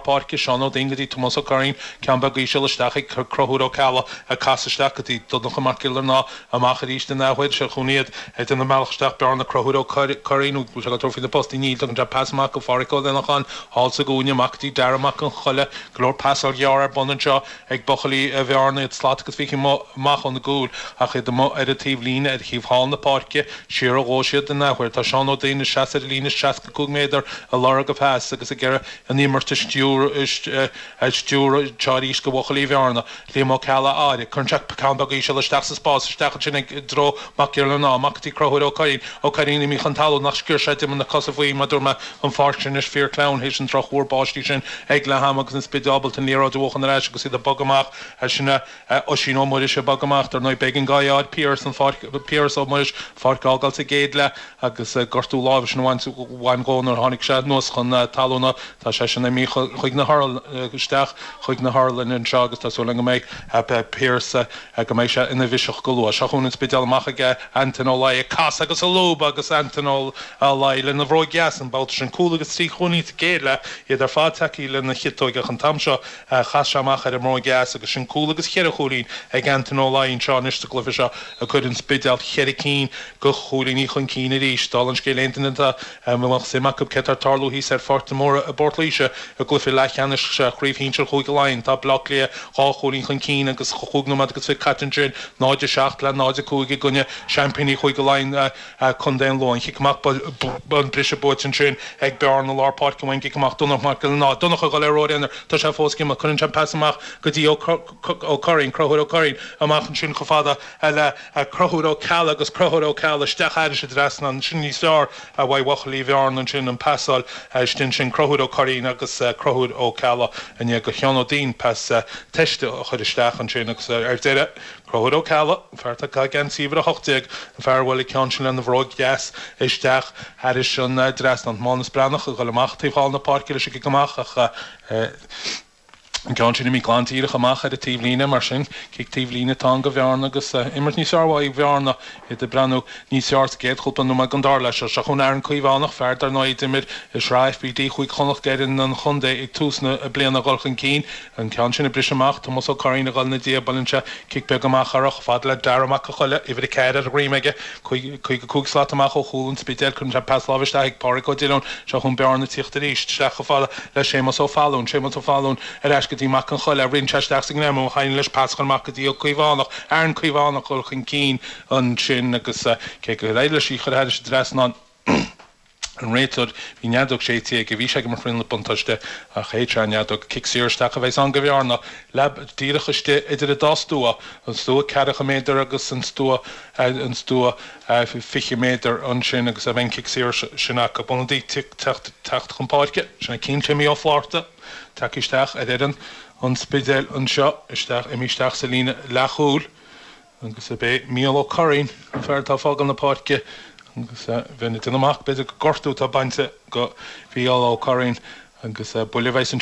páirce, Seán Ó Duinn go dtí Tomás Ó Curraoin, ceann beag íseal isteach ag Conchúr Ó Ceallaigh ag casadh isteach go dtí Donncha Mac Giollarnáth amach arís an athuair. Seo chugainn iad ag déanamh a mbealach isteach Bearna Conchúr Ó Curraoin bhfuil sé ag tabhairt faoi na postaí níl tugann sé pas amach go Phádraic Ó Leanacháin thall sa gcúinne amach go dtí Dara Mac an Choille go leor pasáil ghearr ar bun anseo ag buachaillí Bhearna iad slat agus fiche amach óna gcúl ach iad amuigh ar an taobh líne ar thaobh thall na páirce siar ó dhó siad an athuair. Tá Seán Ó Duinn ina seasamh ar an líne 65 méadar ag lorg a phas agus ag iarraidh an imirt a stiúradh anseo arís go bhuachaillí Bhearna. Liam Ó Ceallaigh á fhaire. Cuireann sé ceann beag íseal isteach sa spás, isteach ansin i dtreo Mac Giollarnáth, amach go dtí Conchúr Ó Curraoin. Ó Curraoin imithe chun talún ach sciorr sé d'imeall na cosa faoi, mar dúirt mé, an pháirc sin anois fíor sleamhain théis an drochmhúr báistí sin ag leath ama agus an Spidéal ábalta an liathróid a bhuachan ar ais agus iad ag bogadh amach. Sin é Oisín Ó Muiris ag bogadh amach. Dar ndóigh b'éigean dhó é Piaras an pháirc, Piaras Ó Muiris, pháirc a fhágáil sa gcéad leath agus gortú láimhe sin a bhain bhain dhó nuair a tháinig sé anuas chun talúna. Tá seisean imithe chuig na isteach chuig na hotharlainne anseo agus tá súil agam go mbeidh Piaras go mbeidh sé ina bhiseach go luath. Seo chugainn an Spidéal amach ag Antain Ó Laoi ag casadh agus ag lúbadh agus Antain Ó Laoi lena bhróig dheas an babhta sin. Cúl agus 3 chúilín sa gcéad leath, iad ar fad tagtha lena chiotóig ach an t-am seo chas sé amach ar an mbróig dheas agus sin cúl agus cheithre chúilín ag Antain Ó Laoi anseo anois sa gcluiche seo ag cur an Spidéal cheithre cinn de chúilíní chun cinn arís. Dála an scéil aon duine atá a mbeadh suim acu céard atá ag tarlú thíos ar Pháirc de Mórdha i bPort Laoise i gcluiche leathcheannais Chraobh Shinsir Chúige Laighean. Tá Baile Átha Cliath 2 chúilín chun cinn agus 5 nóiméad agus 20 caite ansin, 0-7 le 0-5 i gcoinne seaimpíní Chúige Laighean, Contae an Lú. An chic amach, an briseadh buaite ansin ag Bearna i lár páirce an cic amach Donncha Mac Giollarnáth. Donncha ag dul ar thóir aonair, tá sé fós ag imeacht, cuireann sé an pas amach go dtí Ó Curraoin, Conchúr Ó Curraoin amach ansin chomh fada le Conchúr Ó Ceallaigh agus Conchúr Ó Ceallaigh isteach thairis an dtrasnán. Sin níos fearr uaidh bhuachaillí Bhearna ansin, an pasáil istigh ansin, Conchúr Ó Curraoin agus Conchúr Ó Ceallaigh i ndiaidh do Sheán Ó Duinn pas teiste a chur isteach ansin agus ar deireadh, Conchúr Ó Ceallaigh, an fear atá ag geansaí uimhir 18, an fear a bhuail an ceann sin lena bhróig dheas isteach thairis an dtrasnán. Mánus Breathnach ag dul amach taobh thall na páirce leis an gcic amach ach An ceann sin imithe glan díreach amach ar an taobhlíne, mar sin, cic taobhlíne atá ann do Bhearna agus imirt níos fearr uaidh Bhearna, iad ag breathnú níos fearr sa gcéad chúpla nóiméad den dara leath seo. Seo chugainn Aaron Caomhánach, fear dar ndóigh a d'imir i Sraith FBD Chúige Chonnacht d'fhoireann an chontae ag tús na bliana ag dul chun cinn. An ceann sin ag briseadh amach, Tomás Ó Curraoin ag dul ina diaidh, buaileann sé cic beag amach air chomh fada le Dara Mac an Choille, uimhir 4 ar a dhroim aige, 55 slat amach ó chúl an Spidéil. Cuireann sé pas láimhe isteach ag Pádraig Ó Diollóin. Seo chugainn Bearna ag tíocht arís isteach chomh fada le Séamus Ó Fallúin. Séamus Ó Fallúin ar ais go dtí Mac an Choille. Ritheann sé isteach sa ngreamú. Éiríonn leis pas a chur amach go dtí Ó Caomhánach. Aaron Caomhánach ag dul chun cinn ansin agus cé gur éirigh leis í a chur thairis an dtrasnán, an réiteoir, bhí an fheadóg séidte aige, bhí sé ag imirt faoin buntáiste ach shéid sé an fheadóg. Cic saor isteach a bheas ann do Bhearna, leath díreach istigh idir an dá stua, an stua ceathracha méadar agus an stua an stua 20 méadar ansin agus beidh an cic saor sin acu. Ionadaí teacht teacht chun páirce, sin é Cian Timmy Ó Flátharta tagtha isteach ar fhoireann an Spidéil anseo, isteach, imithe isteach sa líne leathchúil. Agus ab é Mícheál Ó Curraoin an fear atá ag fágáil na páirce agus bheinn ag déanamh amach b'fhéidir gur gortú atá bainte go Mhícheál Ó Curraoin agus buille a bheas ansin.